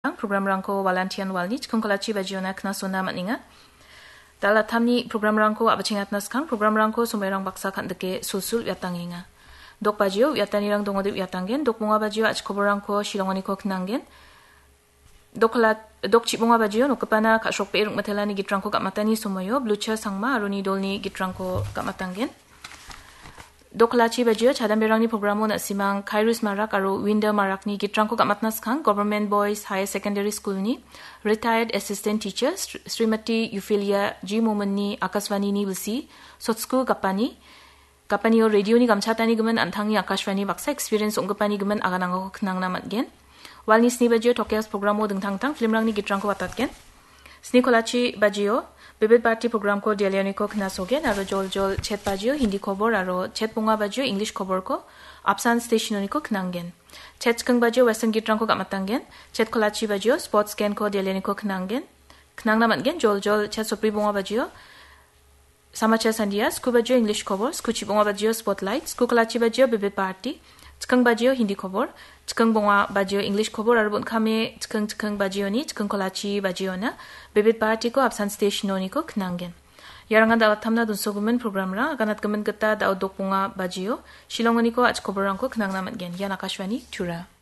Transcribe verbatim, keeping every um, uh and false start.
Programrangko walantian walni chikkongkalachi bajiona knasona man·enga. Dal·attamni programrangko a·bachengatna skang programrangko somoirang baksa kan·dike sulsul uiatangenga. Dok bajio uiatanirang dongode uiatanggen, dok bonga bajio a·chikoborangko shilongoniko knanggen. Dok kala-, dok chibonga bajio nokgipana ka·srokbe rikmitelani gitrangko gam·atani somoio Blucher Sangma aro ni dolni gitrangko gam·atanggen. Dok kalachi bajio chadamberangni programo na·simang Kairos Marak aro Winda Marakni gitrangko gam·atna skang Government Boys Higher Secondary School-ni retired assistant teacher Sri-, Srimati Euphilia G Mominni Akashvani-ni bilsi Sotsku Gapani, Gapanio radio-ni gamchatani gimin an·tangni Akashvani baksa experience ong·gipani gimin aganango knangna man·gen. Walni sni bajio Tokias programo dingtang dingtang filmrangni gitrangko watatgen. Sni kolachi bajio Bibit Bharati programko Delhioniko knasogen aro jol jol chet bajio Hindi kobor aro chet bonga bajio English koborko Apsan stationoniko knanggen. Chet chikking bajio Western gitrangko gam·atanggen. Chet kolachi bajio Sports Genko Delhioniko knanggen. Knangna man·gen jol jol chet sopri bonga bajio Samachar Sandia, sku bajio English kobor, sku chibonga bajio Spotlight, sku kolachi bajio Bibit Bharati, chikking bajio Hindi kobor, chikking bonga bajio English kobor aro bon·kame chikking chikking bajioni, chikking kolachi bajiona Bibit Bharatiko Apsan stationoniko knanggen. Iarangan dal·attamna donsogimin programrang aganatgimin gita da·o dok bonga bajio, shilongoniko a·chikoborrangko knangna man·gen. Ian Akashvani Tura.